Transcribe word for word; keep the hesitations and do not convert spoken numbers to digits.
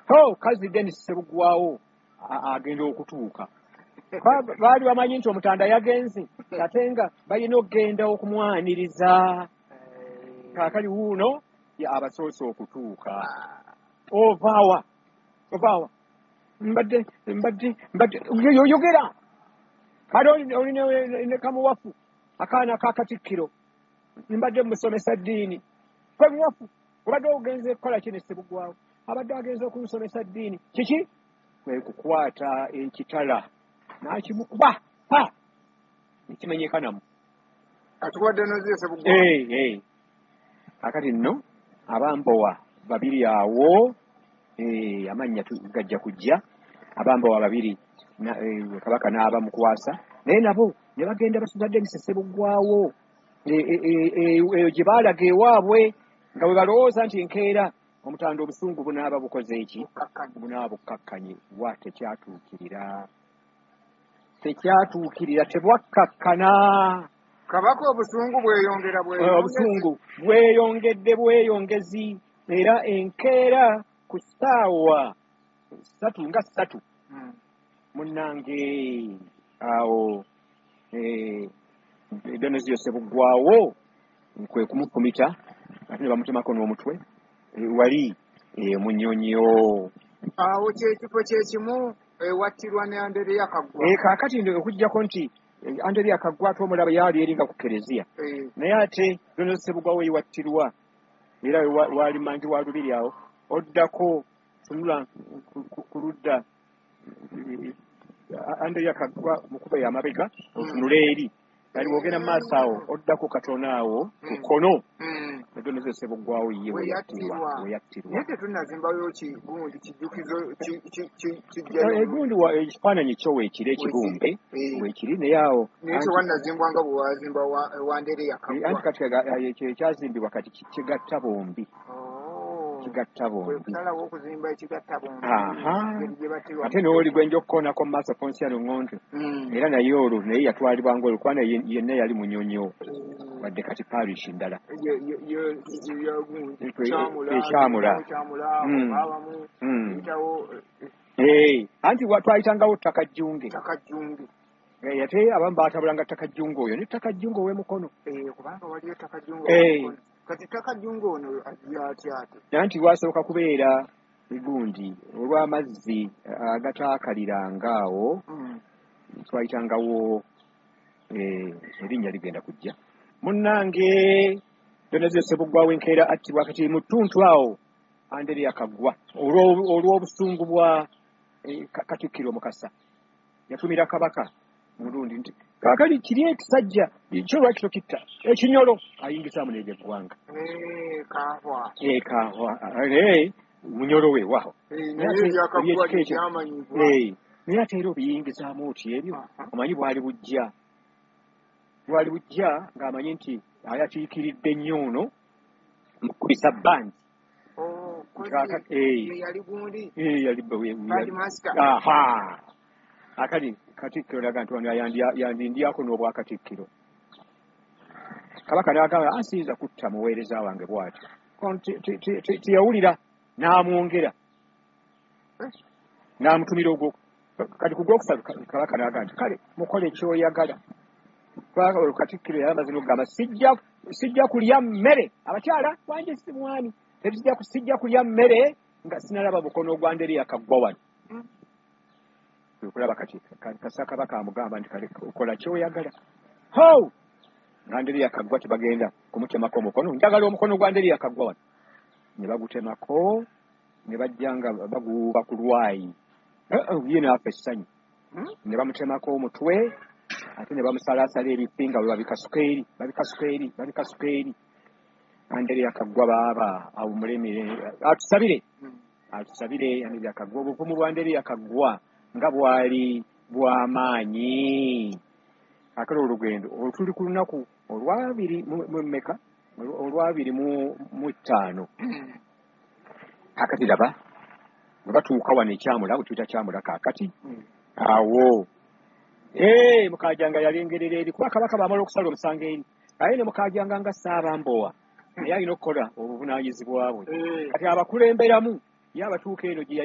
Ho, kazi Denis Ssebuggwawo agenda okutuuka. Baali bamanyi nti Omutanda yagenze, ate nga balina okugenda okumwaniriza. Kaakali wuuno abasoose okutuuka. Ovaawa, ovaawa, mbadde mbadde mbadde yogera. Kale oli ne kamuwafu akaana ka Katikkiro, mbadde musomesa ddiini. Kamuwafu obadde ogenze kukola ki ne Ssebuggwawo? Abadde agenze okumusomesa ddiini. Kiki? Kwe kukwata ekitala n'akimukuba pa nekimenyeka namu. Atuwadde noziyo Ssebuggwawo. Eh, eh. Kakati nno abambowa babiri awo, eh, amannya gajja kujja. Abambowa babiri eh, Kabaka n'abamukwasa, naye nabo ne bagenda basuza Denis Ssebuggwawo eyo gye baalaga ewaabwe, nga bwe balowooza nti enkeera Omutanda obusungu bunaaba bukoze eki, bunaaba bukkakkanye. Wa tekyatuukirira, tekyatuukirira, tebwakkakkana. Kabaka obusungu bweyongera bweyongezi, obusungu bweyongedde bweyongezi. Era enkeera ku ssaawa ssatu nga ssatu munnange awo Donozio Ssebuggwawo kwe kumufumita, ate ne bamutemako n'omutwe wali Munyonyo. Awo kyekifo kyekimu ewattirwa ne Andereya Kaggwa. Kaakati okuggyako nti Andereya Kaggwa ate omulaba yali eringa ku kereziya, naye ate Donozio Ssebuggwawo ewattirwa era wali manju wa Lubiri awo, oddako tunula ku ludda Andereya Kaggwa mukuba y'amabega otunula eri, kali bw'ogenda mu maaso awo oddako katono awo ku kkono Donozio Ssebuggwawo ye we yattirwa, we yattirwa. Naye tetunnazimbayo kigundi kijjukizo kijjayo egundi ekifaananyi kyo weekiri, ekibumbe weekiri, naye awo naye tewannazimbwa nga bwe wazimba wa Andereya Kaggwa. Anti kati ekyo ekyazimbibwa kati kigatta bombi, kigatta bombi, kusalawo okuzimba ekigatta bombi. Ate n'oli gwe nja okukoonako mu maaso, Ponsiano Ŋŋonto, era naye olwo naye yatwalibwa ng'olwo kubanga yenna yali Munyonyo, wadde kati parish ndala ekyamula. Anti twayitangawo ttaka jjunge, ate abamu baatabulanga ttaka jjunge oyo ne ttaka jjunge ow'emukono, kubanga waliyo ttaka jjunge ow'emukono. Kati ttaka jjunge ono ajja atya ate? Anti lwasooka kubeera gundi olw'amazzi agataakaliranga awo, twayitangawo erinnya ligenda kujja. Munnange Donozio Ssebuggwawo enkeera attibwa. Kati mu ttuntu awo Andereya Kaggwa olw'obusungu bwa Katikkiro Mukasa yatumira Kabaka mulundi nti kaakali kiri ekisajja kyo lwaki tokitta ekinyolo ayingizaamu n'ebyeggwanga kahwa munyolo we waawo, naye ate era obiyingizaamu oti ebyo omanyi bwali bujja, bwali bujja ng'amanyi nti ayatiikiridde nnyo ono mukubisa bandi. Akali Katikkiro laga nti wano yandindyako n'obwakatikkiro. Kabaka n'agamba asiyinza kutta muweereza wange bw'atyo, teyawulira n'amwongera n'amutumira ogwo. Kati ku gwokusatu Kabaka n'agamba nti kale mukole kyoyagala. Katikkiro yali amaze n'okugamba sijja kulya mmere, abakyala wange si mwami, sijja kulya mmere nga sinalaba mukono gwa Andereya Kaggwa wano. Okulaba kati kasa Kabaka amugamba nti kale kola kyoyagala. Ho! Andereya Kaggwa tebagenda kumutemako omukono, njagala omukono gwa Andereya Kaggwa wano. Ne bagutemako ne bajja nga baguwuuba ku lwayi, ye n'afa essanyu. Ne bamutemako omutwe ate ne bamusalaasala ebifi nga bwe babikasuka eri, babikasuka eri, babikasuka eri. Andereya Kaggwa baaba awummule, atusabire, atusabire Andereya Kaggwa. Obuvumu bwa Andereya Kaggwa nga bwali bw'amaanyi. Akale olugendo olutuli ku lunaku olwabiri mu mmeka, olwabiri mu ttaano. Kaakati laba bwe batuuka wano ekyamula, bwe tuyita kyamula kaakati awo ee Mukajanga yalengerera eri, kuba Kabaka bamala okusala omusango eri, aye ne Mukajanga nga Ssaabambowa naye alina okukola obuvunaanyizibwa bwe. Kati abakulemberamu ye abatuuka eno gye